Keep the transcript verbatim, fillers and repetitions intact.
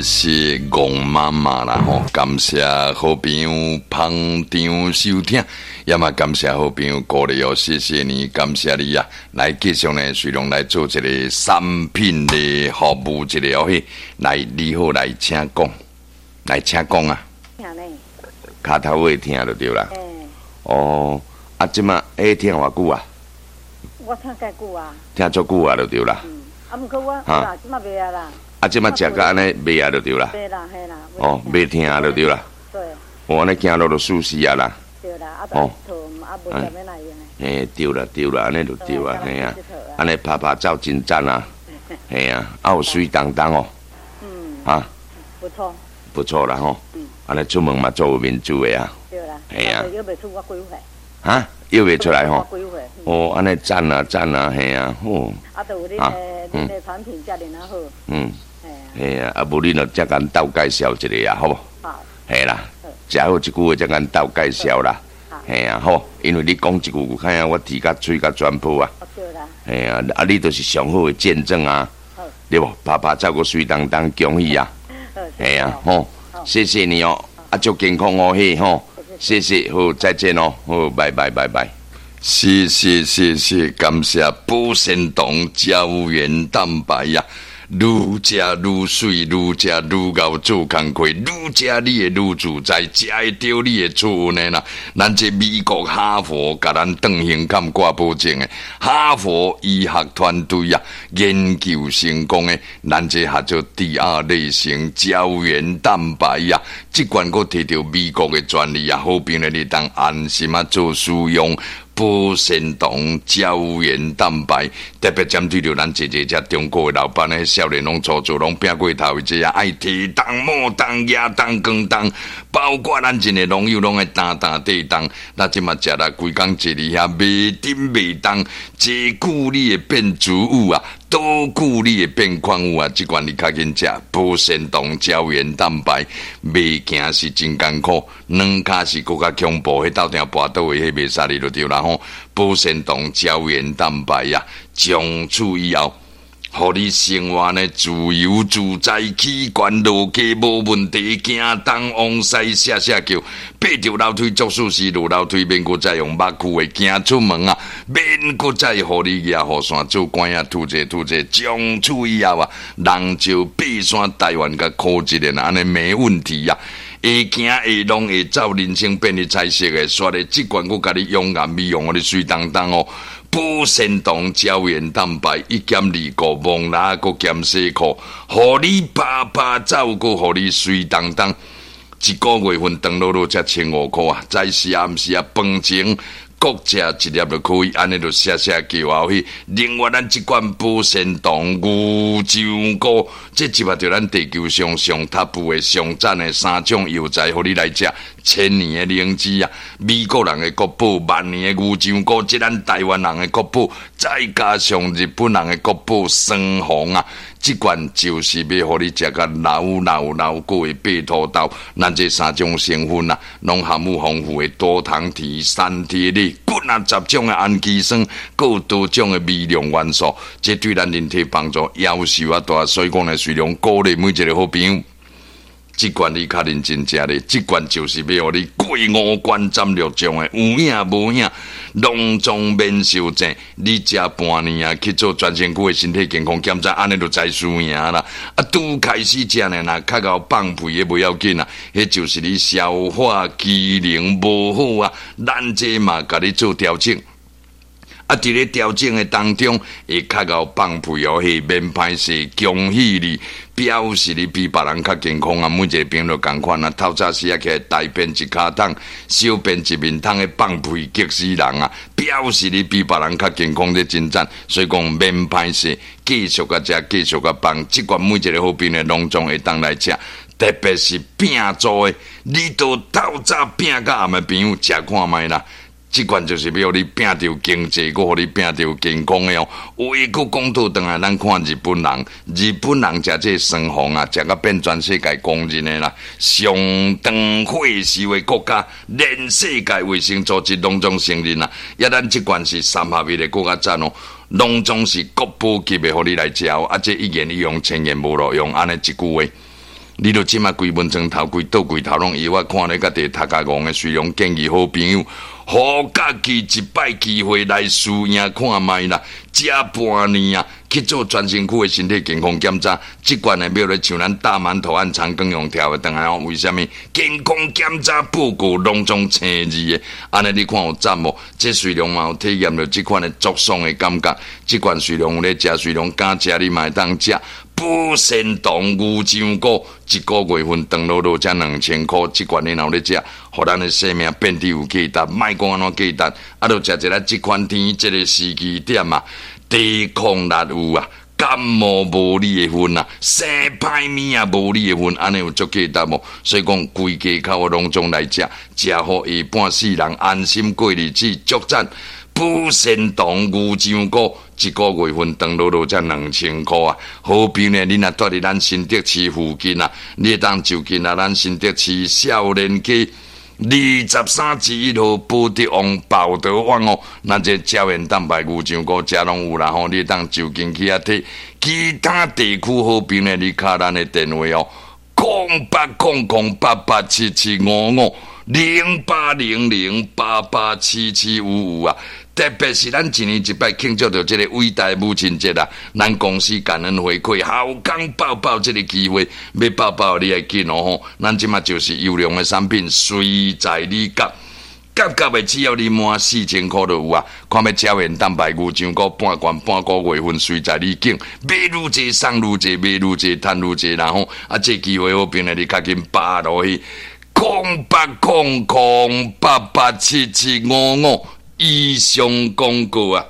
謝戇媽媽啦吼，感謝好朋友捧場收聽，也嘛感謝好朋友鼓勵哦，謝謝你，感謝你啊！來繼續呢，隨龍來做一個產品的服務，一個哦嘿，來你好，來請講，來請講啊！聽呢？跤頭會疼就對啦。欸哦，啊，這馬會疼偌久啊？我疼蓋久啊。疼足久啊，就對啦。嗯，啊，毋過我，啦，這馬袂啊啦。啊，這馬食甲按呢袂啊，就對啦。袂啦，嘿啦。哦，袂疼就對啦。對。我按呢行路就舒適啊啦。對啦，啊，哦，啊，無啥物來用的。嘿，對啦，對啦，按呢就對啊，嘿啊，按呢拍拍走真讚啊，嘿啊，啊有媠當當哦。嗯。啊。不錯。不錯啦吼。嗯。按呢出門嘛做有面子的啊。對啦。嘿啊。約袂出我幾歲？哈？約袂出來吼？哦，按呢讚啊讚啊，嘿啊，好。啊，就有恁的恁的產品遮爾仔好。嗯。嘿啊，啊無恁就才共鬥介紹一下啊，好無？好。嘿啦，食好一句話才共鬥介紹啦。嘿啊，好，因為你講一句有看啊，我提甲喙甲全破啊。對啦。嘿啊，啊你就是上好的見證啊，對無？拍拍走閣媠當當，恭喜啊！嘿啊，好，謝謝你哦，啊祝健康哦，嘿吼，謝謝，好，再見哦，好，拜拜拜拜。謝謝謝謝，感謝保鮮糖膠原蛋白呀，愈食愈媠，愈食愈𠢕做工課，愈食你會愈自在，食會著你會出運的啦。咱這美國哈佛共咱斷胸坎掛保證的，哈佛醫學團隊啊研究成功的，咱這合做第二類型膠原蛋白呀，這款閣提著美國的專利啊，好朋友你當安心啊做使用。保鮮糖膠原蛋白，特別針對著咱這這這中國的老闆咧，少年攏粗做，攏拼過頭的這啊，愛提重、摸重、舉重、扛重，包括咱真的農友攏愛擔擔底重。咱這馬食啦，規工坐佇遐袂振袂動，這久你會變脂脲啊，多久你會變礦物啊？這款你較緊食保鮮糖膠原蛋白，袂行是真艱苦，兩跤是閣較恐怖，彼鬥定跋倒的，彼袂使你就對啦吼。保鮮糖膠原蛋白啊，從此以後，予你生活呢自由自在，起懸落低無問題，行東往西寫寫叫，爬著樓梯做事時落樓梯免閣再用目睭的行出門啊，免閣再予你舉雨傘做官仔吐這吐這，從此以後啊，人就爬山台灣共箍一下，按呢沒問題啊。會行會弄會走，人生變得彩色的，煞咧這款閣共你養顏美容，予你媠當當哦。保鮮糖膠原蛋白一減二顧，蒙拉閣減洗褲，予你拍拍走，閣予你媠當當。一個月份長落落才千五箍啊！早時暗時啊，飯前各食一粒就可以，按呢就寫寫叫後去。另外，咱這款保鮮糖牛樟菇，這一擺著咱地球上上 top 的上讚的三種藥材，予你來食。千年的靈芝啊，美國人的國寶，萬年的牛樟菇，這咱台灣人的國寶，再加上日本人的國寶雙黃啊，這款就是欲予你食甲老老老閣會爬土豆。咱這三種成分啊，攏含有豐富的多糖體、三萜類，幾若十種的氨基酸，閣有多種的微量元素，這對咱人體幫助夭壽啊大。所以講呢，雖然鼓勵每一個好朋友。這款你較認真食咧，這款就是欲予你過五關斬六將的，有影無影，攏總免受症。你食半年啊，去做全身軀的身體健康檢查，按呢就知輸贏啦。啊，拄開始食呢，若較𠢕放屁的袂要緊啊，彼就是你消化機能無好啊，咱這嘛共你做調整。啊，佇咧調整的當中，會較𠢕放屁哦，彼免歹勢，恭喜你，表示你比別人較健康啊！每一個朋友仝款啊，透早時啊起來大便一跤桶，小便一面桶的放屁激死人啊！表示你比別人較健康，這真讚。所以講免歹勢，繼續共食，繼續共放。這款每一個好朋友攏總會當來食，特別是拼做的，你都透早拼到暗的朋友，食看覓啦。這款就是欲予你拼著經濟，閣予你拼著健康的哦。話閣講倒轉來，咱看日本人，日本人食這雙黃啊，食甲變全世界公認的啦，上長歲壽的國家，連世界衛生組織攏總承認啦。抑咱這款是三合一的閣較讚哦，攏總是國寶級的，予你來食哦。啊，這一言一用，千言無路用，按呢一句話。你著這馬規門床頭櫃倒櫃頭攏藥，我看咧佮佇頭殼戇的，雖然建議好朋友，予家己一擺機會來試驗看覓啦，食半年啊，去做全身軀的身體健康檢查，這款的欲咧像咱大饅頭按長庚用調的轉來哦，為啥物？健康檢查報告攏總青字的，按呢你看有讚無？這雖然嘛有體驗著這款的足爽的感覺，這款雖然有咧食，雖然敢食你嘛會當食。保鮮糖牛樟菇一個月份長落落才兩千箍，這款你若有咧食，予咱的生命變得有價值，莫講按怎價值，啊，著食一下這款天這个時機點啊，抵抗力有啊，感冒無你的份啊，生歹物也無你的份，按呢有足價值無？所以講規家口攏總來食，食予下半世人安心過日子，足讚。保鮮糖牛樟菇一個月份長落落才兩千箍啊！好比呢，你若蹛佇咱新竹市附近啊，你會當就近啊，咱新竹市少年街二十三之一號寶德旺寶德旺哦，咱這膠原蛋白牛樟菇遮攏有啦吼，你會當就近去遐提。其他地區好朋呢，你敲咱的電話哦，空八空空八八七七五五零八零零八八七七五五啊！特別是咱一年一擺慶祝著這個偉大母親節啊，咱公司感恩回饋，好康報報這個機會，欲報報你愛緊哦吼！咱這馬就是優良的產品，隨在你夾，夾夾的只要你滿四千箍就有啊！看欲膠原蛋白牛樟菇半罐半個月份，隨在你揀，買愈濟送愈濟，買愈濟趁愈濟，然後啊，這機會好朋友你較緊把落去，空八空空八八七七五五。以上廣告啊！